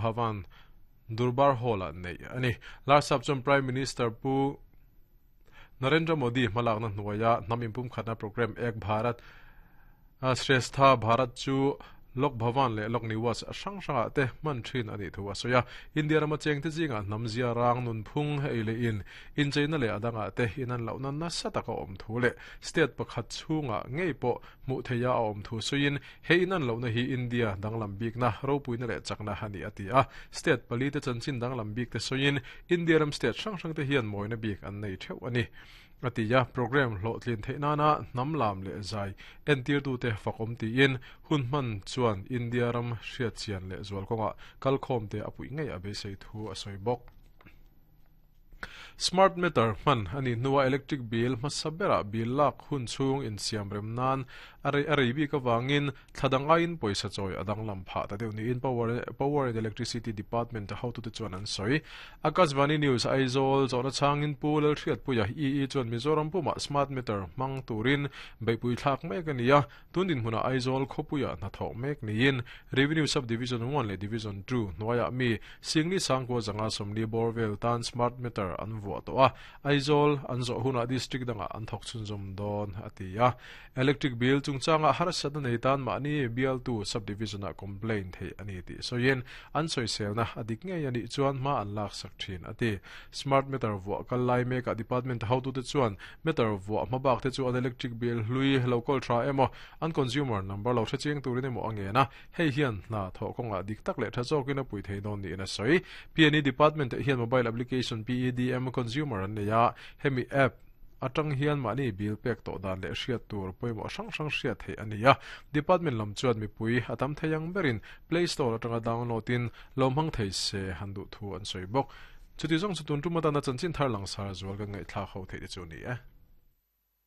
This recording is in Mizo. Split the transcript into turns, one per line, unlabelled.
Bhavan, Durbar Hall-ah neih a ni. Larsap chuan Prime Minister Pu Narendra Modi hmalakna hnuaia hnam inpumkhatna programme Ek Bharat Shrestha Bharat chu Lok Bhavan leh Lok Niwas hrang hrangah te hman thin a nih thu a sawi a. India rama chengte zingah hnam zia rang nunphung ei leh in incheina leh a dangah te inan lohna nasa taka awm thu leh state pakhat chhungah ngei pawh hmuh theiha a awm thu sawiin he inan lohna hi India danglam bikna ropuina leh chakna a ni a ti a. State pali te chanchin danglam bik te sawiin India ram state hrang hrang te hian mawina bik an nei theuh a ni. A ti a, programme hlawhtlin theih nana hnam lam leh zai entirtute fakawm tiin hun hman chuan India ram hriatchian leh zual kawngah kalkhawmte a puih ngei a beisei thu a sawi bawk. Smart meter hman a nih hnuah electric bill hmasa berah bill lak hun chhung insiam rem nan a rei a rei bik avangin Thla dang aiin pawisa chawi a danglam phah ta deuh niin Power and Electricity Department a hotute chuan an sawi. Akashvani News Aizawl zawhna chhangin Pu Lalhriatpuia EE chuan Mizoram pumah smart meter hmang turin beihpui thlak mek a ni a, tun dinhmunah Aizawl khawpuiah hnathawh mek niin Revenue Sub-Division 1 leh Division 2 hnuaiah mi Singli Sangkua zanga 40 bawr vel tan smart meter an vuah tawh a, Aizawl an zawh hunah district dangah an thawk chhunzawm dawn a ti a. Electric bill chungchangah harsatna nei tan mahni bialtu sub-division ah complaint theih a ni tih sawiin an sawiselna a dik ngei a nih chuan hma an laksak thin a ti. Smart meter vuah kal lai mekah department hotute chuan meter vuah hma bak te chu an electric bill hlui lo kawl tha emaw an consumer number lo hrechiang turin emaw a ngen a, hei hian hna thawh kawngah dik tak leh tha zawkin a pui thei dawn niin a sawi. PNE department ah hian mobile application PEDM consumer an nei a, hemi app Atang hian mahni bill pek tawh dan leh hriat tur pawimawh hrang hrang hriat theih a ni a. Department lam chuan mipui a tam thei ang berin Play Store atanga download in lo hmang thei se han duh thu an sawi bawk. Chuti zawng chu tun tum atana chanchin thar langsar zual kan ngaihthlak ho theih te chu a ni e.